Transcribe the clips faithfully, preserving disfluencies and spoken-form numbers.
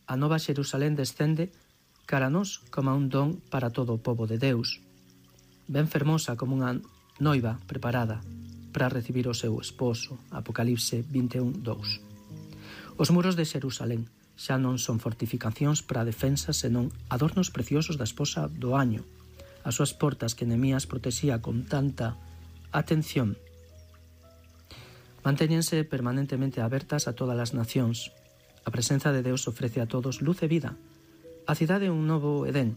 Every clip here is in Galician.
a nova Xerusalén descende cara a nós como un don para todo o pobo de Deus, ben fermosa como unha noiva preparada para recibir o seu esposo. Apocalipse vinte e un, dous. Os muros de Xerusalén xa non son fortificacións para a defensa, senón adornos preciosos da esposa do año. As súas portas que Nehemías protexía con tanta atención mantéñense permanentemente abertas a todas as nacións. A presenza de Deus ofrece a todos luz e vida. A cidade é un novo Edén,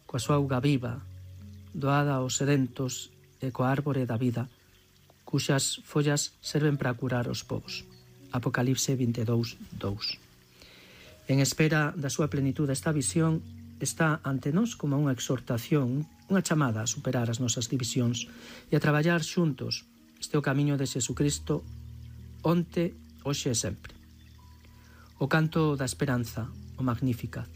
coa súa auga viva, doada aos sedentos e coa árbore da vida, cuxas follas serven para curar os povos. Apocalipse vinte e dous, dous. En espera da súa plenitude, esta visión está ante nós como unha exhortación, unha chamada a superar as nosas divisións e a traballar xuntos. Este é o camiño de Xesucristo, onte, hoxe e sempre. O canto da esperanza, o Magnificat.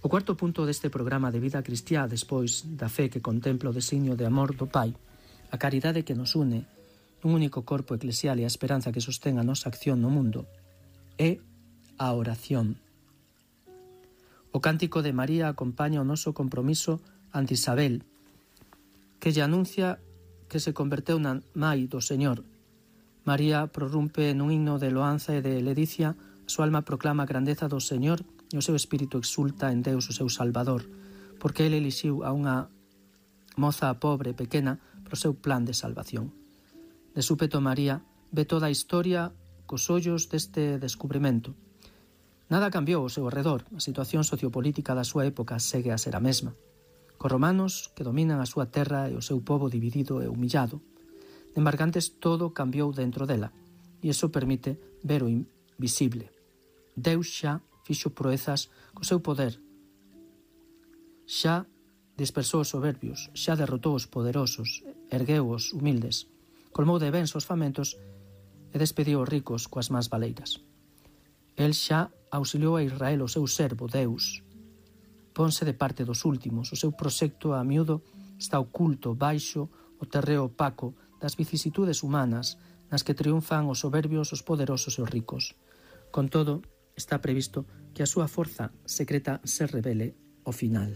O cuarto punto deste programa de vida cristiá, despois da fe que contempla o designio de amor do Pai, a caridade que nos une nun único corpo eclesial e a esperanza que sostén a nosa acción no mundo, é a oración. O cántico de María acompaña o noso compromiso ante Isabel, que lle anuncia que se converteu na mai do Señor. María prorrumpe nun himno de loanza e de ledicia, a súa alma proclama a grandeza do Señor e o seu espírito exulta en Deus, o seu Salvador, porque ele elixiu a unha moza pobre e pequena pro seu plan de salvación. De súpeto María ve toda a historia cos ollos deste descubrimento. Nada cambiou ao seu arredor, a situación sociopolítica da súa época segue a ser a mesma. Cos romanos que dominan a súa terra e o seu pobo dividido e humillado. De embargantes todo cambiou dentro dela, e iso permite ver o invisible. Deus xa fixo proezas co seu poder, xa dispersou os soberbios, xa derrotou os poderosos, ergueu os humildes, colmou de bens os famentos e despediu os ricos coas más valeiras. El xa auxiliou a Israel, o seu servo, Deus. Ponse de parte dos últimos, o seu proxecto a miúdo está oculto baixo o terreo opaco das vicisitudes humanas nas que triunfan os soberbios, os poderosos e os ricos. Con todo, está previsto que a súa forza secreta se revele ao final.